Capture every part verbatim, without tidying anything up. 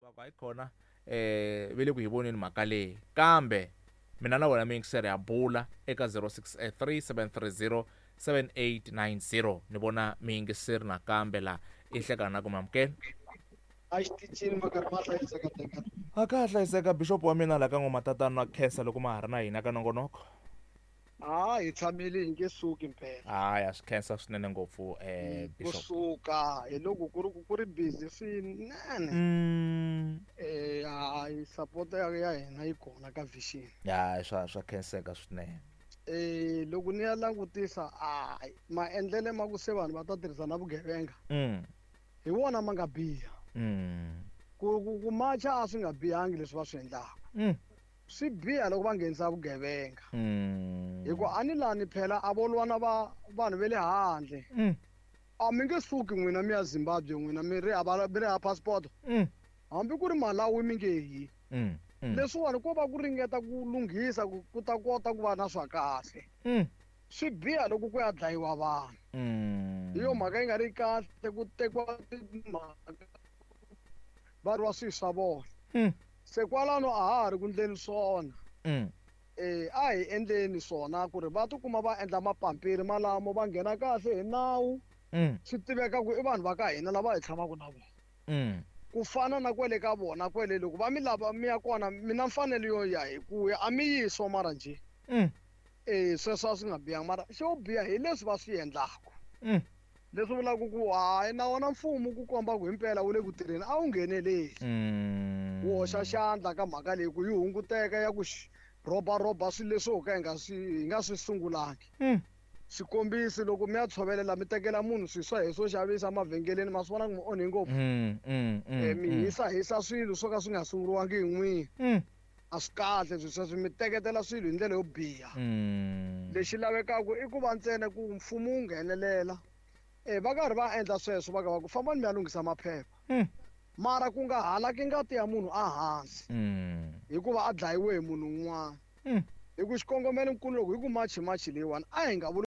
Va ku hayi khona eh ve le ku hi voneni mhaka leyi kambe mina na wena miyingiseri ya bula eka zero six three seven three zero seven eight nine zero ni vona miyingiseri nakambe la i hlekana na ku mamukela a xitichini makarhi ma hlayiseka teka a ka ha hlayiseka bishop wa mina la ka n'wa tatana na khensa loko ma ha ri na hina ka nongonoko a hi tshamile hi nge suki mpela hayi a swi khensa swinene ngopfu eh bishop kusuka hi loko ku ri ku ri busy swinene mm eh hayi support ya ya hina yi kona ka vision ya swa swa khenseka swinene eh loko ni ya langutisa hayi maendlele ma ku se vanhu va ta tirhisa na vugevenga mm hi wona ma nga biha mm ku ku ku macha a swi nga bihangi leswi va swi endlaka mm swi biha loko va nghenisa vugevenga mm hi ku a ni lani phela a vo lwa na va vanhu ve le handle mm a mi nge suki n'wina mi ya Zimbabwe n'wina mi ri hava mi ri hava passport mm hambi ku ri Malawi mi nge yi mm mm leswiwani ko va ku ringeta ku lunghisa ku ku ta kota ku va na swa kahle mm swi biha loko ku ya dlayiwa vanhu mm hi yo mhaka yi nga ri kahle ku tekiwa timhaka va ri wa swilo swa vona mm se kwalano a ha ha ri ku ndleni swona mm eh a hi endleni swona ku ri va tikuma va endla mapampiri malamo va nghena kahle hi nawu mm swi tiveka ku i vanhu va ka hina lava hi tshamaka na vona mm ku fana na kwele ka vona kwele loko va mi lava mi ya kona mi na mfanelo yo ya hi ku ya a mi yiso mara njhe mm eh sweswo a swi nga bihanga mara xo biha hi leswi va swi endlaka mm leswi vulaka ku hayi na wona mfumo ku komba ku himpela wu le ku tirheni a wu ngheneleli mm wu hoxa xandla ka mhaka leyi ku yi hunguteka ya ku rhobarhoba swilo leswi ho ka hi nga swi hi nga swi sungulangi mm xikombiso loko mi ya tshovelela mi tekela munhu swilo swa hi swo xavisa emavhengeleni ma swi vona ku mi onhe ngopfu mm mm eh mi mm hisa hisa swilo swo ka swi nga sunguriwangi hi n'wina mm a swi kahle swilo sweswo mi teketela swilo hi ndlela yo biha mm lexi lavekaka i ku va ntsena ku mfumo wu nghenelela eh va karhi va endla sweswo va ka va ku fambani mi ya lunghisa maphepha mm mara ku nga halaki ngati ya munhu ehansi mm hikuva a dlayiwe hi munhu un'wana mm hi ku xikongomelonkulu loko hi ku machi machi leyiwani a hi nga vuli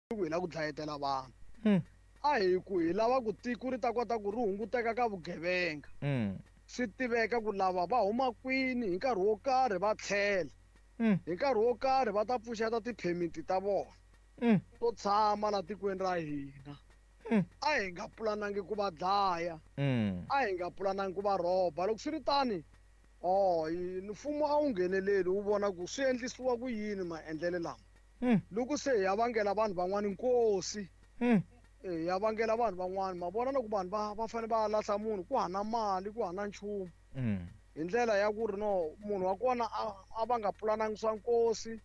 ku hi lava ku dlayetela vanhu mm a hi ku hi lava ku tiko ri ta kota ku ri hunguteka ka vugevenga mm swi tiveka ku lava va huma kwini hi nkarhi wo karhi va tlhela mm hi nkarhi wo karhi va ta pfuxeta ti-permit ta vona mm to tshama la tikweni ra hina mm a hi nga pulanangi ku va dlaya mm a hi nga pulanangi ku va rhoba loko swi ri tani oh mfumo a wu ngheneleli wu vona ku swi endlisiwa ku yini maendlelo lama mm loko se hi ya vangela vanhu van'wani nkosi mm eh ya vangela vanhu van'wani ma vona loko vanhu va va fanele va lahla munhu ku hana mali ku hana nchumu mm hi ndlela ya ku ri no munhu wa kona a a va nga pulanangi swa nkosi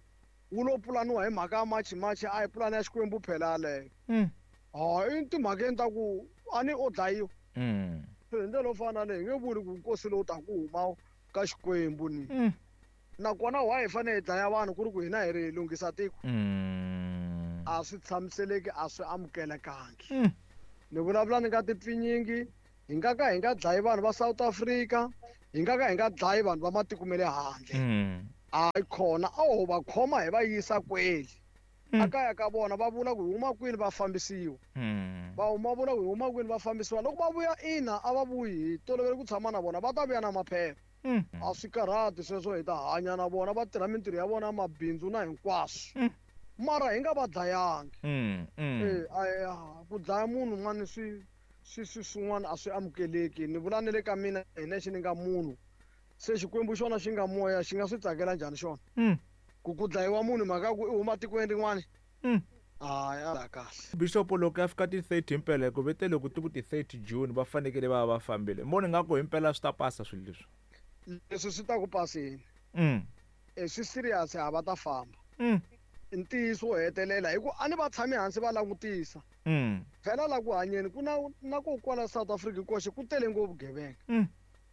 wu lo pulaniwa hi mhaka ya machi machi a hi pulani ya Xikwembu phela yaleyo mm hayi i timhakeni ta ku a ni o dlayiwa mm hi ndlela yo fana na leyi hi nge vuli ku nkosi lowu taka ku huma ka Xikwembu ni mm nakona why hi fanele hi dlaya vanhu ku ri ku hina hi ri hi lunghisa tiko mm a swi tshamiseleki a swi amukelekangi mm ni vulavula ni nga tipfinyingi hi nga ka hi nga dlayi vanhu va South Africa hi nga ka hi nga dlayi vanhu va matiko ma le handle mm hayi khona a ho va khoma hi va yisa kweli Mm. a kaya ka vona va vula ku hi huma kwini va fambisiwa mm va huma vula ku hi huma kwini va fambisiwa loko va vuya ina a va vuyi hi tolovele ku tshama na vona va ta vuya na maphepha mm a swi karhati sweswo hi ta hanya na vona va tirha mintirho ya vona mabindzu na hinkwaswo Mm. mara hi nga va dlayangi mm mm eh a ku dlaya munhu un'wana swi swi swi swin'wana a swi amukeleki ni vula ni le ka mina hi nexe ni nga munhu se Xikwembu xona xi nga moya xi nga swi tsakela njhani xona mm ku ku dlayiwa munhu mhaka ku i huma tikweni rin'wana mm hayi a kahle bishop loko ya fika ti thirty himpela ku vete loko ti ku ti thirty June va fanekele va va fambile moni nga ku himpela swi ta pasa swilo leswi leswi swi ta ku paseni mm e swi serious a va ta famba mm ntiyiso wo hetelela hi ku a ni va tshami hansi va langutisa mm phela la ku hanyeni ku na na ku kwala South Africa koxe ku tele ngopfu vugevenga mm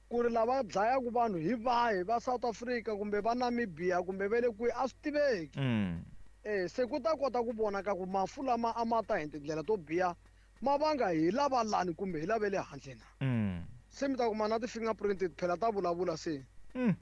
ku ri lava dlayaka vanhu hi vahi va South Africa kumbe va Namibia kumbe va le kwihi a swi tiveki mm eh se ku ta kota ku vonaka ku mafu lama a ma ta hi tindlela to biha ma vanga hi lava lani kumbe hi lava le handle na mm se mi ta kuma na ti-fingerprint phela ta vulavula se mm